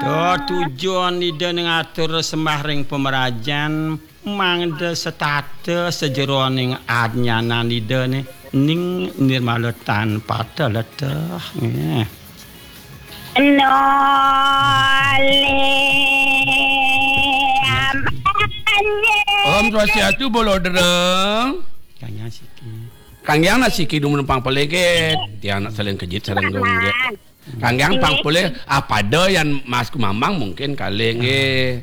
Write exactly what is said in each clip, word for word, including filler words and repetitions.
Ya, tujuan Ida ning atur sembah ring pamrajan, mangda setata sajeroning adnyanan Ida ning nirmala tan pata leteh. Nggih. Nolih amane. Om Swastiastu, Bolodra. Kang Yang Siki. Kang Yang Siki dumun pang pelegit. Tiang nak saling kejit sareng Gung Gek. Kang Yang pang polih, apada yan Mas Kumambang mungkin kalih nggih.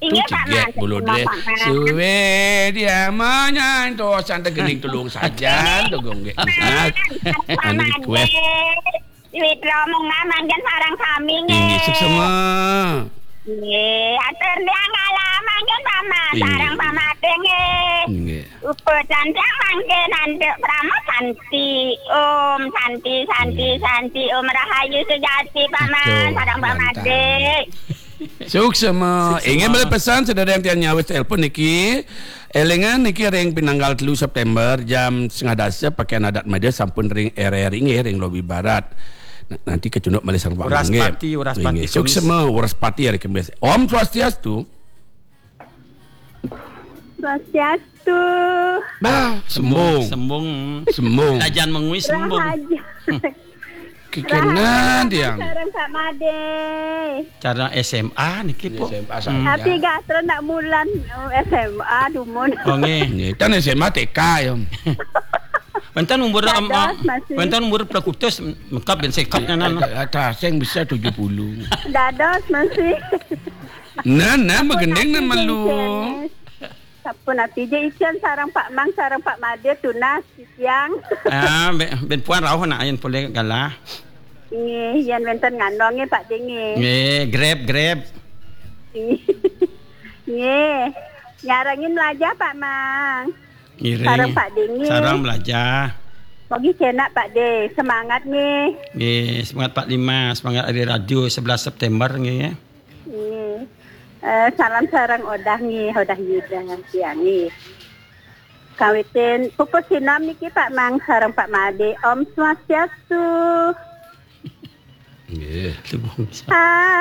Inggih, Pak Mas. Bolodra. Suwe dia manyan to santai gening tulung sajan to Gung Gek. Nah, anu request. Witra mungah mangkin sareng sami nggih. Inggih, suksema. Nggih, atur tiang kalah mangkin Pak Mas, sareng Pak Made nggih. Nggih. Upacan tiang mangkin antuk Prama Santi. Om Santi, Santi, Santi. Om Rahayu Sujati, Pak Mas, sareng Pak Made. Suksema. Inggih, malih pesan sedherek tiang nyawis telepon niki. Elingan niki ring pinanggal telu September jam setengah dasa pakaian adat Made sampun ring R R I nggih, ring lobi barat. Nah, nanti kecunduk malih sareng Pak Wraspati, nggih. Wraspati Nggih. Kemis. Suksema, Wraspati hari Kemis. Om Swastiastu. Swastiastu. Bah, sembung. Sembung. Sembung. Kajan mengui sembung. Rahayu. Kikenan tiang. Sareng Pak Made. Cara S M A niki, Pok. S M A saja. Tapi gatra nak mulan, oh, S M A dumun. Oh, nggih. Nggih, tan S M A T K ya. Wenten umur, em, Dados, masih. Wenten umur plekutus, mekap ben seket nyanan. Ada sing bisa tujuh puluh. Dados masih. Nah, nah, magending nah malu. Sampun ati ja icen sareng Pak Mang, sareng Pak Made tunas titiang. Ah, ben, ben puan rauh nak ayen polih galah. Nggih, yen wenten ngandong nggih Pak De nggih. Nggih, grab, grab. Nggih. Nyarengin melajah Pak Mang. Ngiring. Sareng Pak De nggih. Sareng melajah. Mogi cenak Pak De, semangat nggih. Nggih, semangat Pak Lima, semangat hari radio sebelas September nggih. Nggih. Eh, salam sareng Odah nggih, Odah Yuda tiang nggih. Kawitin pupus sinom niki Pak Mang sareng Pak Made. Om Swastiastu. Nggih. Hai.